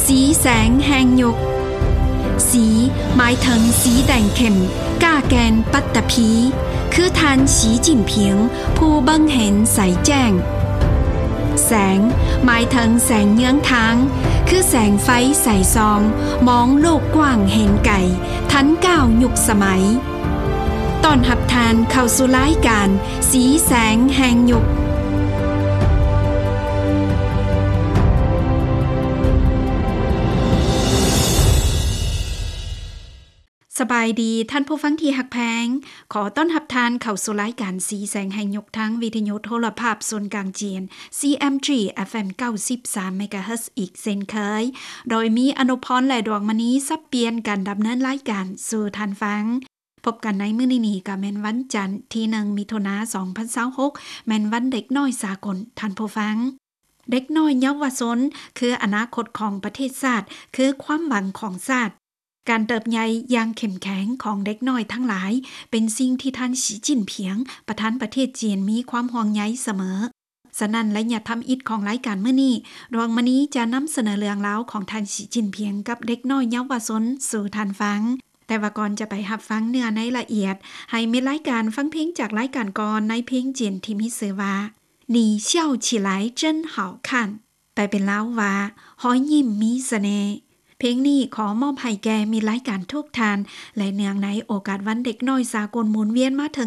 ສີແສງແຫ່ງຍຸກ. ສີ ໝາຍເຖິງສີແດງເຂັ້ມ, ກ້າແກ່ນ, ປັດຕະພີ, ຄືທ່ານ ສີຈິ້ນຜິງ ຜູ້ເບິ່ງເຫັນໃສແຈ້ງ. ແສງ ໝາຍເຖິງແສງເຍືອງທາງ, ຄືແສງໄຟໃສສ່ອງ, ມອງໂລກກວ້າງເຫັນໄກ, ທັນກ້າວຍຸກສະໄໝ. ຕ້ອນຮັບທ່ານເຂົ້າສູ່ລາຍການ ສີແສງແຫ່ງຍຸກ. ສະບາຍດີທ່ານຜູ້ຟັງທີ່ຮັກແພງ, ຂໍຕ້ອນຮັບທ່ານເຂົ້າສູ່ລາຍການສີແສງແຫ່ງຍຸກ ທາງວິທະຍຸໂທລະພາບສູນກາງຈີນ ຊີເອັມຈີ ເອັຟເອັມ ເກົ້າສິບສາມ ເມກາເຮີດ ອີກເຊັ່ນເຄີຍ, ໂດຍມີອະນຸພອນ ແລະ ດວງມະນີ ສັບປ່ຽນກັນດຳເນີນລາຍການສູ່ທ່ານຟັງ. ພົບກັນໃນມື້ນີ້ນີ້ ກໍແມ່ນວັນຈັນທີໜຶ່ງ ມິຖຸນາ ສອງພັນຊາວຫົກ ແມ່ນວັນເດັກນ້ອຍສາກົນ. ທ່ານຜູ້ຟັງ, ເດັກນ້ອຍເຍົາວະຊົນ ຄືອະນາຄົດຂອງປະເທດຊາດ, ຄືຄວາມຫວັງຂອງຊາດ. ການເຕີບໃຫຍ່ຢ່າງເຂັ້ມແຂງຂອງເດັກນ້ອຍທັງຫຼາຍ ເປັນສິ່ງທີ່ທ່ານ ສີຈິ້ນຜິງ ປະທານປະເທດຈີນ ມີຄວາມຫ່ວງໃຍສະເໝີ. ສະນັ້ນ ໄລຍະທຳອິດຂອງລາຍການມື້ນີ້, ດວງມະນີຈະນຳສະເໜີເລື່ອງລາວຂອງທ່ານ ສີຈິ້ນຜິງ ກັບເດັກນ້ອຍເຍົາວະຊົນສູ່ທ່ານຟັງ. ແຕ່ວ່າກ່ອນຈະໄປຮັບຟັງເນື້ອໃນລະອຽດ, ໃຫ້ມິດລາຍການຟັງເພງຈາກລາຍການກ່ອນ ໃນເພງຈີນທີ່ມີຊື່ວ່າ 你笑起来真好看 ແປເປັນລາວວ່າ ຮອຍຍິ້ມມີສະເໜ່. ເພງນີ້ຂໍມອບໃຫ້ແກ່ມິດລາຍການທຸກທ່ານ ແລະ ເນື່ອງໃນໂອກາດວັນເດັກນ້ອຍສາກົນໝູນວຽນມາເຖິ